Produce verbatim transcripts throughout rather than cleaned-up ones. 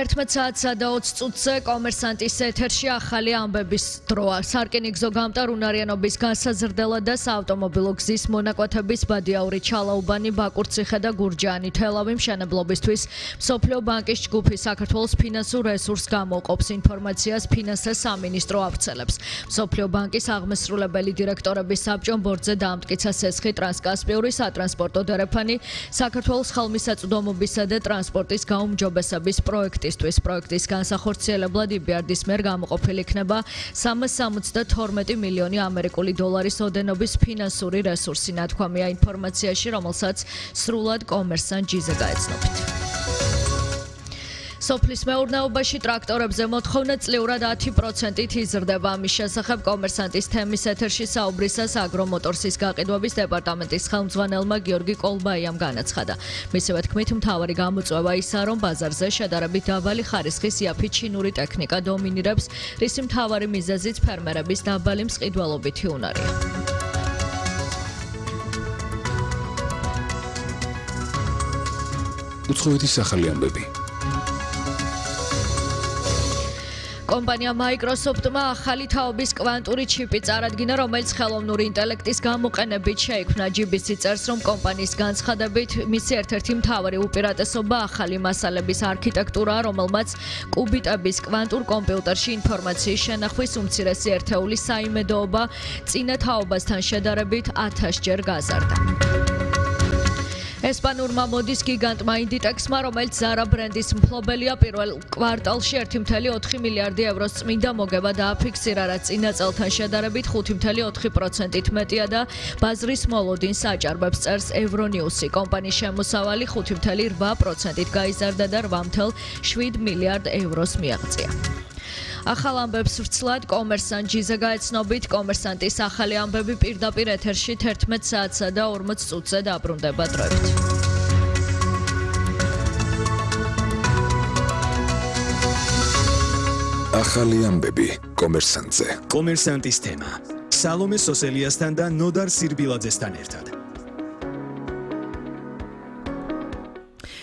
თერთმეტ საათსა და ოცი წუთზე კომერსანტის ეთერში ახალი ამბების დროა. სარკინიგზო გამტარ უნარიანობის განსაზრდელად და საავტომობილო გზის მონაკვეთების ბადიაური ჩალაუბანი, ბაკურციხე და გურჯაანი თელავი მშენებლობისთვის მსოფლიო ბანკის ჯგუფი საქართველოს ფინანსურ რესურსს გამოყოფს. ინფორმაციას ფინანსთა სამინისტრო ავრცელებს. მსოფლიო ბანკის აღმასრულებელი დირექტორების საბჭომ ბორცზე დაამტკიცა სესხი ტრანსკასპიური სატრანსპორტო დერეფანი საქართველოს ხელმისაწვდომობისა და ტრანსპორტის გაუმჯობესების პროექტისთვის. პროექტის განსახორციელებლად ი ბი არ-დის მიერ გამოყოფილი იქნება სამას სამოცდა თორმეტი მილიონი ამერიკული დოლარის ოდენობის ფინანსური რესურსი. ნათქვამია ინფორმაციაში, რომელსაც სრულად კომერსანტ ჯიზე გაეცნობით. სოფლის მეურნეობაში ტრაქტორებზე მოთხოვნა წლიურად ათი პროცენტით იზრდება. ამის შესახებ კომერსანტის თემის ეთერში საუბრისას აგრომოტორსის გაყიდვების დეპარტამენტის ხელმძღვანელმა გიორგი კოლბაიამ განაცხადა. მისივე თქმით, მთავარი გამოწვევა ისაა, რომ ბაზარზე შედარებით დაბალი ხარისხის იაფი ჩინური ტექნიკა დომინირებს, რისი მთავარი მიზეზიც ფერმერების დაბალი მსყიდველობითი უნარია. უცხოეთის ახალი ამბები. კომპანია Microsoft-მა ახალი თაობის კვანტური ჩიპი წარადგინა, რომელიც ხელოვნური ინტელექტის გამოყენებით შეიქმნა. ჯი ბი სი წერს, რომ კომპანიის განცხადებით, მისი ერთ-ერთი მთავარი უპირატესობა ახალი მასალების არქიტექტურაა, რომელმაც კუბიტების კვანტურ კომპიუტერში ინფორმაციის შენახვის უმცირესი ერთეული საიმედოობა წინა თაობასთან შედარებით ათასჯერ გაზარდა. ესპანურმა მოდის გიგანტმა ინდიტექსმა, რომელიც Zara ბრენდის მფლობელია, პირველ კვარტალში ერთი წელი ოთხი მილიარდი ევროს წმინდა მოგება დააფიქსირა, რაც წინა წელთან შედარებით ხუთი წელი ოთხი პროცენტით მეტია და ბაზრის მოლოდინს აჭარბებს, წერს ევრონიუსი. კომპანიის შემოსავალი ხუთი წელი რვა პროცენტით გაიზარდა და რვა წელი შვიდ მილიარდ ევროს მიაღწია. ახალ ამბებს ვრცლად კომერსანტ ჯიზე გაეცნობით. კომერსანტის ახალი ამბები პირდაპირ ეთერში თერთმეტ საათსა და ორმოც წუთზე დაბრუნდება დროებით. ახალი ამბები კომერსანტზე. კომერსანტის თემა. სალომე სოსელიასთან და ნოდარ სირბილაძესთან ერთად.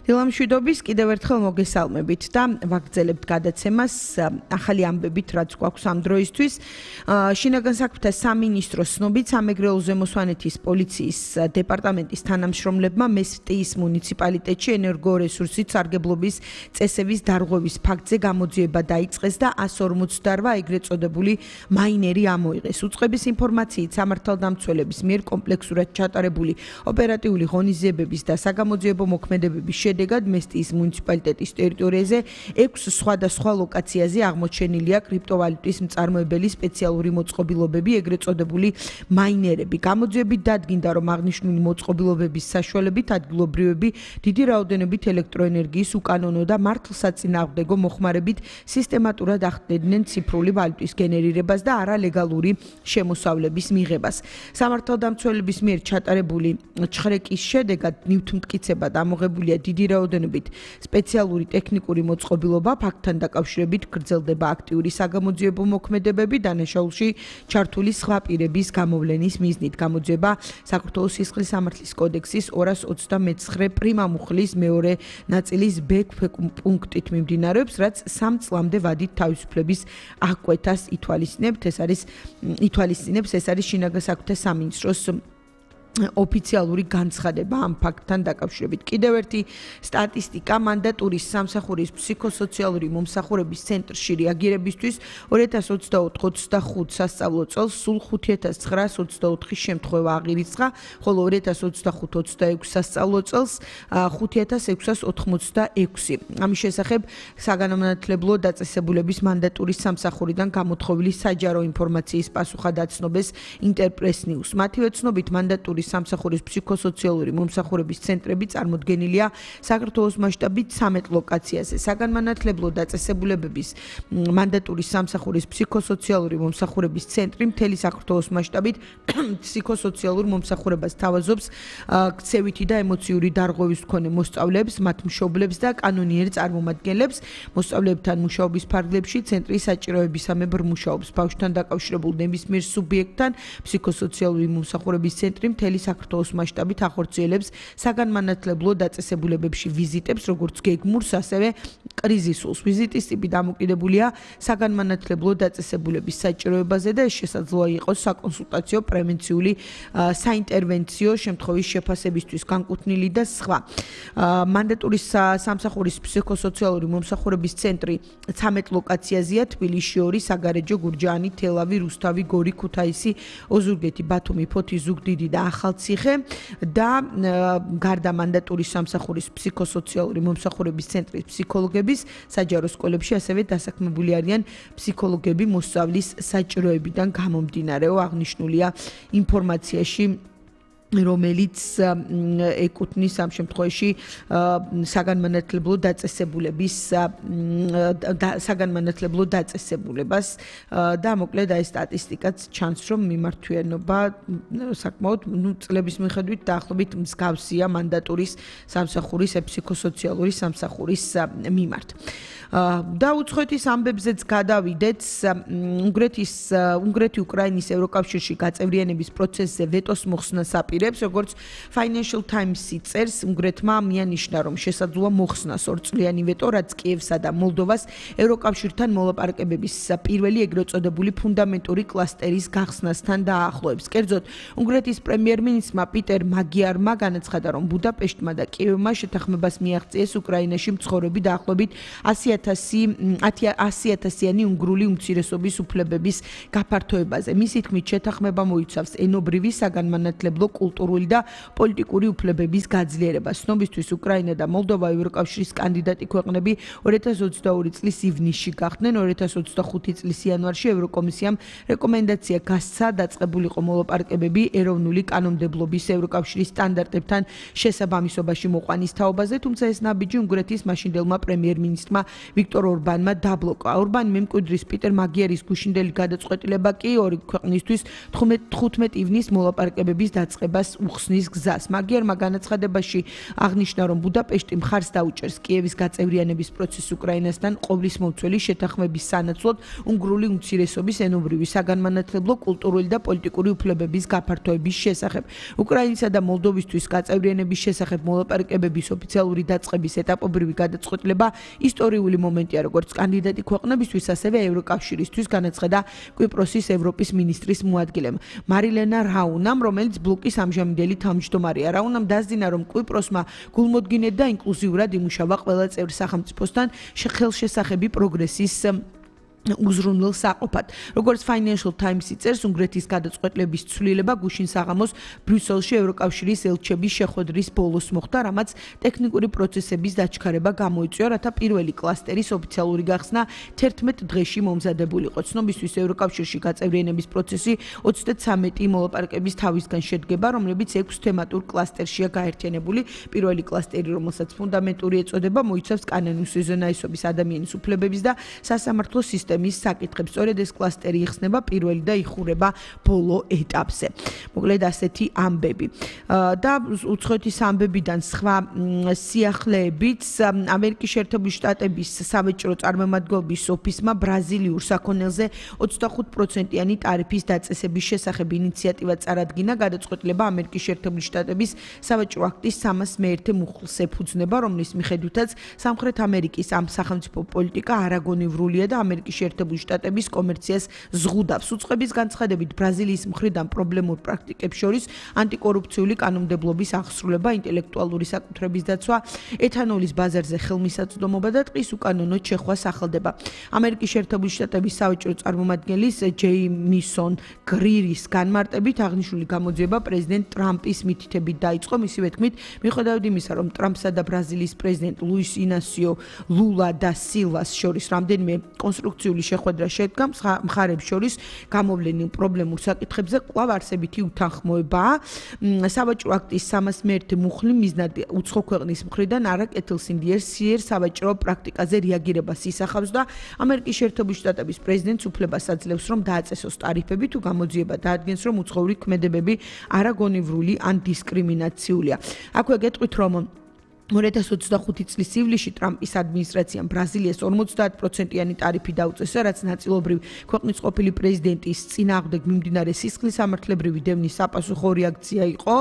დილამშვიდობის კიდევ ერთხელ მოგესალმებით და ვაგრძელებთ გადაცემას ახალი ამბებით, რაც გვაქვს ამ დროისთვის. შინაგან საქმეთა სამინისტროს ცნობით, სამეგრელო ზემოსვანეთის პოლიციის დეპარტამენტის თანამშრომლებმა მესტიის მუნიციპალიტეტში ენერგორესურსით სარგებლობის წესების დარღვევის ფაქტზე გამოძიება დაიწყეს და ასი ორმოცდარვა ეგრეთ წოდებული მაინერი ამოიღეს. უწყების ინფორმაციით სამართალდამცველების მიერ კომპლექსურად ჩატარებული ოპერატიული ღონისძიებების და საგამოძიებო მოქმედებების შედეგად მესტიის მუნიციპალიტეტის ტერიტორიაზე ექვს სხვადასხვა ლოკაციაზე აღმოჩენილია კრიპტოვალუტის მწარმოებელი სპეციალური მოწყობილობები, ეგრეთ წოდებული მაინერები. გამოძიებით დადგინდა, რომ აღნიშნული მოწყობილობების საშუალებით ადგილობრივები დიდი რაოდენობით ელექტროენერგიის უკანონო და მართლსაწინააღმდეგო მოხმარებით სისტემატურად ახდენდნენ ციფრული ვალუტის გენერირებას და არალეგალური შემოსავლების მიღებას. სამართალდამცველების მიერ ჩატარებული ჩხრეკის შედეგად ნივთმტკიცებად ამოღებულია დიდი რაოდენობით სპეციალური ტექნიკური მოწყობილობა, ფაქტთან დაკავშირებით გრძელდება აქტიური საგამოძიებო მოქმედებები, დანაშაულში ჩართული სხვა პირების გამოვლენის მიზნით. გამოძიება საქართველოს სისხლის სამართლის კოდექსის ორას ოცდამეცხრე პრიმა მუხლის მეორე ნაწილის ბ პუნქტით მიმდინარეობს, რაც სამ წლამდე ვადით თავისუფლების აღკვეთას ითვალისწინებს. ეს არის ითვალისწინებს, ეს არის შინაგან საქმეთა სამინისტროს ოფიციალური განცხადება ამ ფაქტთან დაკავშირებით. კიდევ ერთი სტატისტიკა მანდატურის სამსახურის ფსიქოსოციალური მომსახურების ცენტრში რეაგირებისთვის ორი ათას ოცდაოთხ ოცდახუთ სასწავლო წელს სულ ხუთი ათას ცხრაას ოცდაოთხი შემთხვევა აღირიცხა, ხოლო ორი ათას ოცდახუთ ოცდაექვსი სასწავლო წელს ხუთი ათას ექვსას ოთხმოცდაექვსი. ამის შესახებ საგანმანათლებლო დაწესებულების მანდატურის სამსახურიდან გამოთხოვილი საჯარო ინფორმაციის პასუხად აცნობეს ინტერპრეს ნიუს. მათივე ცნობით მანდატურის სამსახურის ფსიქოსოციალური მომსახურების ცენტრები წარმოდგენილია საქართველოს მასშტაბით ცამეტ ლოკაციაზე. საგანმანათლებლო დაწესებულებების მანდატურის სამსახურის ფსიქოსოციალური მომსახურების ცენტრი მთელი საქართველოს მასშტაბით ფსიქოსოციალურ მომსახურებას თავაზობს ქცევითი და ემოციური დარღვევის მქონე მოსწავლეებს, მათ მშობლებს და კანონიერ წარმომადგენლებს. მოსწავლეებთან მუშაობის ფარგლებში ცენტრი საჭიროებისამებრ მუშაობს. ბავშვთან დაკავშირებულ ნებისმიერ სუბიექტთან ფსიქოსოციალური მომსახურების ცენტრი მთელი მთელი საქართველოს მასშტაბით ახორციელებს საგანმანათლებლო დაწესებულებებში ვიზიტებს, როგორც გეგმურს, ასევე კრიზისულს. ვიზიტის ტიპი დამოკიდებულია საგანმანათლებლო დაწესებულების საჭიროებაზე და ეს შესაძლოა იყოს საკონსულტაციო, პრევენციული, საინტერვენციო შემთხვევის შეფასებისთვის განკუთვნილი და სხვა. მანდატური სამსახურის ფსიქოსოციალური მომსახურების ცენტრი ცამეტ ლოკაციაზეა: თბილისში ორი, საგარეჯო, გურჯაანი, თელავი, რუსთავი, გორი, ქუთაისი, ოზურგეთი, ბათუმი, ფოთი, ზუგდიდი და ახალციხე და გარდა მანდატურის სამსახურის ფსიქოსოციალური მომსახურების ცენტრის ფსიქოლოგების საჯარო სკოლებში ასევე დასაქმებული არიან ფსიქოლოგები მოსწავლის საჭიროებიდან გამომდინარეო. აღნიშნულია ინფორმაციაში, რომელიც ეკუთვნის ამ შემთხვევაში საგანმანათლებლო დაწესებულების საგანმანათლებლო დაწესებულებას და მოკლედ აი სტატისტიკაც ჩანს, რომ მიმართვიანობა საკმაოდ ნუ წლების მიხედვით დაახლოებით მსგავსია მანდატურის სამსახურის ფსიქოსოციალური სამსახურის მიმართ. და უცხოეთის ამბებზეც გადავიდეთ. უნგრეთის უნგრეთი უკრაინის ევროკავშირში გაწევრიანების პროცესზე ვეტოს მოხსნას აპირებს, როგორც Financial Times-ი წერს, უნგრეთმა მიანიშნა, რომ შესაძლოა მოხსნას ორწლიანი ვეტო, რაც კიევსა და მოლდოვას ევროკავშირთან მოლაპარაკებების პირველი ეგრეთ წოდებული ფუნდამენტური კლასტერის გახსნასთან დაახლოებს. კერძოდ, უნგრეთის პრემიერ-მინისტრმა პიტერ მაგიარმა განაცხადა, რომ ბუდაპეშტმა და კიევმა შეთანხმებას მიაღწიეს უკრაინაში მცხოვრები დაახლოებით ათი ათასიანი უნგრული უმცირესობის უფლებების გაფართოებაზე. მისი თქმით, შეთანხმება მოიცავს ენობრივი, საგანმანათლებლო, კულტურული და პოლიტიკური უფლებების გაძლიერებას. ცნობისთვის, უკრაინა და მოლდოვა ევროკავშირის კანდიდატი ქვეყნები ორი ათას ოცდაორი წლის ივნისში გახდნენ. ორი ათას ოცდახუთი წლის იანვარში ევროკომისიამ რეკომენდაცია გასცა დაწყებულიყო მოლაპარაკებები ეროვნული კანონმდებლობის ევროკავშირის სტანდარტებთან შესაბამისობაში მოყვანის თაობაზე, თუმცა ეს ნაბიჯი უნგრეთის მაშინდელმა პრემიერ-მინისტრმა ვიქტორ ორბანმა დაბლოკა. ორბანი მემკვიდრის პიტერ მაგიარის გუშინდელი გადაწყვეტილება კი ორი ქვეყნისთვის თხუთმეტი ივნის მოლაპარაკებების დაწყებას უხსნის გზას. მაგიარმა განაცხადებაში აღნიშნა, რომ ბუდაპეშტი მხარს დაუჭერს კიევის გაწევრიანების პროცესს უკრაინასთან ყოვლისმომცველი შეთანხმების სანაცვლოდ უნგრული უმცირესობის ენობრივი, საგანმანათლებლო, კულტურული და პოლიტიკური უფლებების გაფართოების შესახებ. უკრაინისა და მოლდოვისთვის გაწევრიანების შესახებ მოლაპარაკებების ოფიციალური დაწყების ეტაპობრივი გადაწყვეტილება ისტორიული მომენტია როგორც კანდიდატი ქვეყნებისთვის, ასევე ევროკავშირისთვის, განაცხადა კვიპროსის ევროპის მინისტრის მოადგილემ მარილენა რაუნამ, რომელიც ბლოკის ამჟამინდელი თავმჯდომარეა. რაუნამ დასძინა, რომ კვიპროსმა გულმოდგინედ და ინკლუზიურად იმუშავა ყველა წევრ სახელმწიფოსთან ხელშესახები პროგრესის უზრუნველ საყოფად. როგორც Financial Times-ი წერს, უნგრეთის გადაწყვეტილების ცვლილება გუშინ საღამოს ბრიუსელში ევროკავშირის ელჩების შეხვედრის ბოლოს მოხდა, რამაც ტექნიკური პროცესების დაჩქარება გამოიწვია, რათა პირველი კლასტერის ოფიციალური გახსნა თერთმეტ დღეში მომზადებულიყო. ცნობისთვის, ევროკავშირში გაწევრიანების პროცესი ოცდათრამეტი მოლაპარაკების თავისგან შედგება, რომლებიც ექვს თემატურ კლასტერშია გაერთიანებული. პირველი კლასტერი, რომელსაც ფუნდამენტური ეწოდება, მოიცავს კანონის უზენაესობის, ადამიანის უფლებების და სასამართლო სისტემის მის საკითხებს. სწორედ ეს კლასტერი იხსნება პირველი და იხურება ბოლო ეტაპზე. მოკლედ ასეთი ამბები. და უცხოეთის ამბებიდან სხვა სიახლეებით, ამერიკის შეერთებული შტატების საბჭოთა წარმომადგენლობის ოფისმა ბრაზილიურ საქონელზე ოცდახუთ პროცენტიანი ტარიფის დაწესების შესახებ ინიციატივა წარადგინა. გადაწყვეტილება ამერიკის შეერთებული შტატების საბჭოთა აქტის სამას მეერთე მუხლს ეფუძნება, რომლის მიხედვითაც სამხრეთ ამერიკის ამ სახელმწიფო პოლიტიკა არაგონივრულია და ამერიკის შეერთებული შტატების კომერციას ზღუდავს. უწყების განცხადებით, ბრაზილიის მხრიდან პრობლემურ პრაქტიკებს შორის ანტიკორუფციული კანონმდებლობის აღსრულება, ინტელექტუალური საკუთრების დაცვა, ეთანოლის ბაზარზე ხელმისაწვდომობა და ტყის უკანონო შეხვა სახელდება. ამერიკის შეერთებული შტატების საბჭოთა წარმომადგენლის ჯეიმისონ გრირის განმარტებით აღნიშნული გამოძიება პრეზიდენტ ტრამპის მითითებით დაიწყო. მისივე თქმით, მიუხედავად იმისა, რომ ტრამპსა და ბრაზილიის პრეზიდენტ ლუის ინასიო ლულა და სილვას შორის რამდენიმე კონსტრუქციული შეხვედრა შედგა, მხარებს შორის გამოვლენილ პრობლემურ საკითხებზე კვლავ არსებითი უთანხმოებაა. საბჭოთა აქტის სამას მეერთე მუხლი მიზნად უცხო ქვეყნის მხრიდან არაკეთილსინდიერ სიერ საბჭოთა პრაქტიკაზე რეაგირებას ისახავს და ამერიკის შეერთებული შტატების პრეზიდენტს უფლებას აძლევს, რომ დააწესოს ტარიფები თუ გამოძიება დაადგენს, რომ უცხოური ქმედებები არაგონივრული ან დისკრიმინაციულია. აქვე გეტყვით, რომ ორი ათას ოცდახუთი წლის ივლისში ტრამპის ადმინისტრაციამ ბრაზილიას ორმოცდაათ პროცენტიანი ტარიფი დაუწესა, რაც ნაწილობრივ ქვეყნის ყოფილი პრეზიდენტის წინააღმდეგ მიმდინარე სისხლისამართლებრივი დევნის საპასუხო რეაქცია იყო,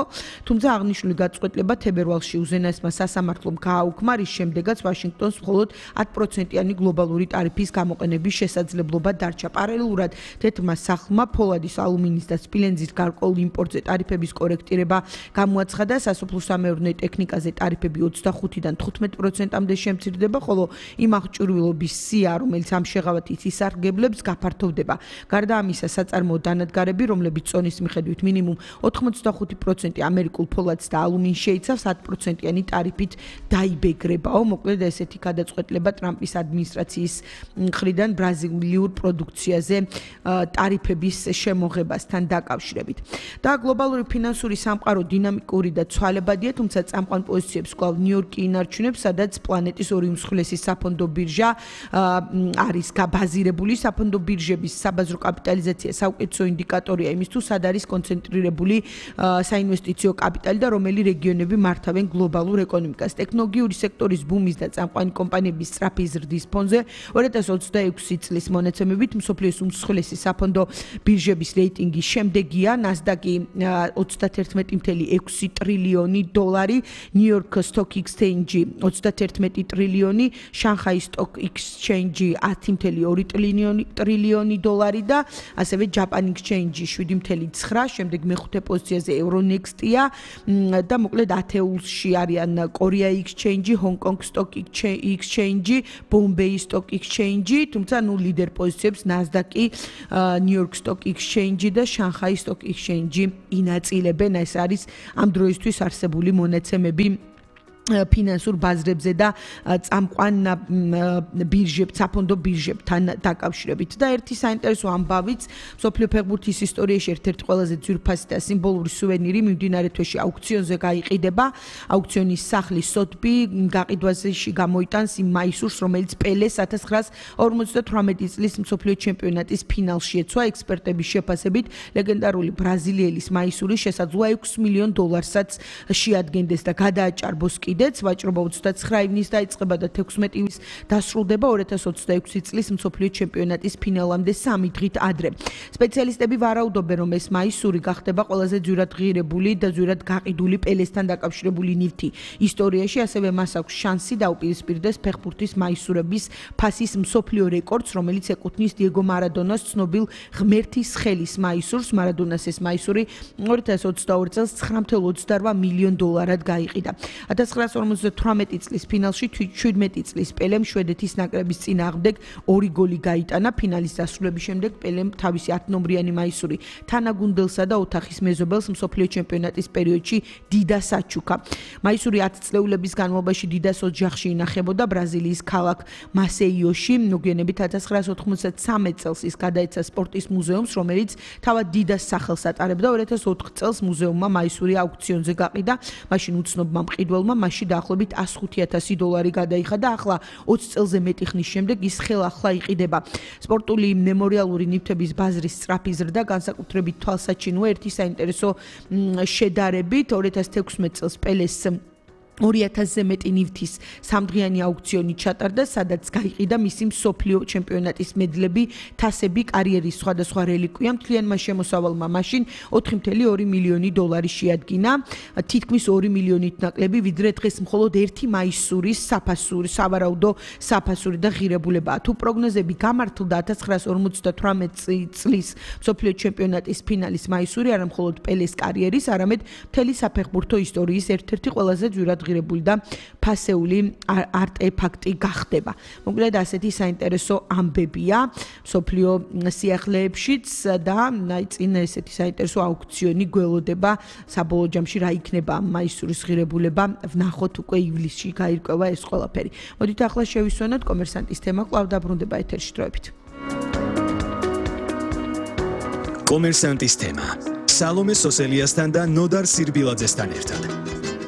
თუმცა აღნიშნული გაწყვეტილება თებერვალში უზენაესმა სასამართლომ გააუქმა, რის შემდეგაც ვაშინგტონს მხოლოდ ათ პროცენტიანი გლობალური ტარიფის გამოყენების შესაძლებლობა დარჩა. პარალელურად თეთრმა სახლმა ფოლადის, ალუმინის და სპილენძის გარკვეულ იმპორტზე ტარიფების კორექტირება გამოაცხადა, სასოფლო-სამეურნეო ტექნიკაზე ტარიფები ოცდახუთიდან თხუთმეტ პროცენტამდე შემცირდება, ხოლო იმ აღჭურვილობის სია, რომელიც ამ შეღავათით ისარგებლებს, გაფართოვდება. გარდა ამისა, საწარმოო დანადგარები, რომლებიც წონის მიხედვით მინიმუმ ოთხმოცდახუთი პროცენტი ამერიკულ ფოლადს და ალუმინს შეიცავს, ათ პროცენტიანი ტარიფით დაიბეგრებაო. მოკლედ ესეთი გადაწყვეტილება ტრამპის ადმინისტრაციის მხრიდან ბრაზილიურ პროდუქციაზე ტარიფების შემოღებასთან დაკავშირებით. და გლობალური ფინანსური სამყარო დინამიკური და ცვალებადია, თუმცა წამყვან პოზიციებს კვლავ ნიუ-იორკი ინარჩუნებს, სადაც პლანეტის ორი უმსხვილესი საფონდო ბირჟა არის გაბაზირებული. საფონდო ბირჟების საბაზრო კაპიტალიზაცია საუკეთესო ინდიკატორია იმის თუ სად არის კონცენტრირებული საინვესტიციო კაპიტალი და რომელი რეგიონები მართავენ გლობალურ ეკონომიკას. ტექნოლოგიური სექტორის ბუმის და წამყვანი კომპანიების სწრაფი ზრდის ფონზე ორი ათას ოცდაექვსი წლის მონაცემებით მსოფლიოს უმსხვილესი საფონდო ბირჟების რეიტინგი შემდეგია: ნასდაკი ოცდაათერთმეტი წუთი ექვსი ტრილიონი დოლარი, ნიუ-იორკ Stock Exchange ოცდაათერთმეტი ტრილიონი, შანხაი Stock Exchange ათი წუთი ორი ტრილიონი დოლარი და ასევე Japan Exchange შვიდი წუთი ცხრა, შემდეგ მეხუთე პოზიციაზე Euronext-ია და მოკლედ ათეულში არიან Korea Exchange, Hong Kong Stock Exchange, Bombay Stock Exchange, თუმცა ნუ ლიდერ პოზიციებს Nasdaq-ი, New York Stock Exchange და Shanghai Stock Exchange ინაწილებენ. ეს არის ამ დროისთვის არსებული მონაცემები ფინანსურ ბაზრებზე და წამყვან ბირჟებს, საფონდო ბირჟებთან დაკავშირებით. და ერთი საინტერესო ამბავიც, მსოფლიო ფეხბურთის ისტორიაში ერთ-ერთი ყველაზე ძვირფასი და სიმბოლური სუვენირი მიმდინარე თვეში აუქციონზე გაიყიდება. აუქციონის სახლის სოტბი გაყიდვაში გამოიტანს იმ მაისურს, რომელიც პელეს ათას ცხრაასა ორმოცდათვრამეტი წლის მსოფლიო ჩემპიონატის ფინალში ეცვა. ექსპერტების შეფასებით, ლეგენდარული ბრაზილიელის მაისური შესაძლოა ექვს მილიონ დოლარსაც შეადგენდეს და გადააჭარბოს კიდეც. ვაჭრობა ოცდაცხრა ივნის დაიწყება და თექვსმეტი ივნის დასრულდება ორი ათას ოცდაექვსი წლის მსოფლიო ჩემპიონატის ფინალამდე სამი დღით ადრე. სპეციალისტები ვარაუდობენ, რომ ეს მაისური გახდება ყველაზე ძვირად ღირებული და ძვირად გაყიდული პელესთან დაკავშირებული ნივთი ისტორიაში, ასევე მას აქვს შანსი დაუპირისპირდეს ფეხბურთის მაისურების ფასის მსოფლიო რეკორდს, რომელიც ეკუთვნის დიეგო მარადონას ცნობილ ღმერთის ხელის მაისურს. მარადონას ეს მაისური ორი ათას ოცდაორი წელს ცხრა წუთი ოცდარვა მილიონ დოლარად გაიყიდა. ათას ცხრაასა ორმოცდათვრამეტი წლის ფინალში შვიდმეტი წლის პელემ შვედეთის ნაკრების წინააღმდეგ ორი გოლი გაიტანა. ფინალის დასრულების შემდეგ პელემ თავისი ათნომრიანი მაისური თანაგუნდელსა და ოთახის მეზობელს მსოფლიო ჩემპიონატის პერიოდში დიდას აჩუქა. მაისური ათ წლეულების განმავლობაში დიდას ოჯახში ინახებოდა ბრაზილიის ქალაქ მასეიოში. მოგვიანებით ათას ცხრაასა ოთხმოცდათსამეტ წელს ის გადაეცა სპორტის მუზეუმს, რომელიც თავად დიდას სახელს ატარებდა. ორი ათას ოთხ წელს მუზეუმმა მაისური აუქციონზე გაყიდა. მაშინ უცნობმა მყიდველმა მასში დაახლოებით ას ხუთი ათასი დოლარი გადაიხადა. ახლა ოცი წელზე მეტი ხნის შემდეგ ის ხელახლა იყიდება. სპორტული მემორიალური ნივთების ბაზრის სწრაფი ზრდა, განსაკუთრებით თვალსაჩინოა ერთი საინტერესო შედარებით. ორი ათას თექვსმეტ წელს პელეს ორი ათასზე მეტი ნივთის სამდღიანი აუქციონი ჩატარდა, სადაც გაიყიდა მისი მსოფლიო ჩემპიონატის მედლები, თასები, კარიერის სხვადასხვა რელიკვია. მთლიანმა შემოსავალმა მაშინ ოთხი წუთი ორი მილიონი დოლარი შეადგინა, თითქმის ორი მილიონით ნაკლები, ვიდრე დღეს მხოლოდ ერთი მაისურის საფასური, სავარაუდო საფასური და ღირებულებაა. თუ პროგნოზები გამართლდა, ათას ცხრაასა ორმოცდათვრამეტი წლის მსოფლიო ჩემპიონატის ფინალის მაისური არა მხოლოდ პელეს კარიერის, არამედ მთელი საფეხბურთო ისტორიის ერთ-ერთი ყველაზე ძვირად ღირებული და ფასეული არტეფაქტი გახდება. მოკლედ ასეთი საინტერესო ამბებია მსოფლიო სიახლეებშიც და აი წინ ესეთი საინტერესო აუქციონი გველოდება. საბოლოო ჯამში რა იქნება ამ მაისურის ღირებულება, ვნახოთ უკვე ივლისში გაირკვევა ეს ყველაფერი. მოდით ახლა შევისვენოთ კომერსანტის თემა, კვლავ დაბრუნდება ეთერში დროებით. კომერსანტის თემა. სალომე სოსელიასთან და ნოდარ სირბილაძესთან ერთად.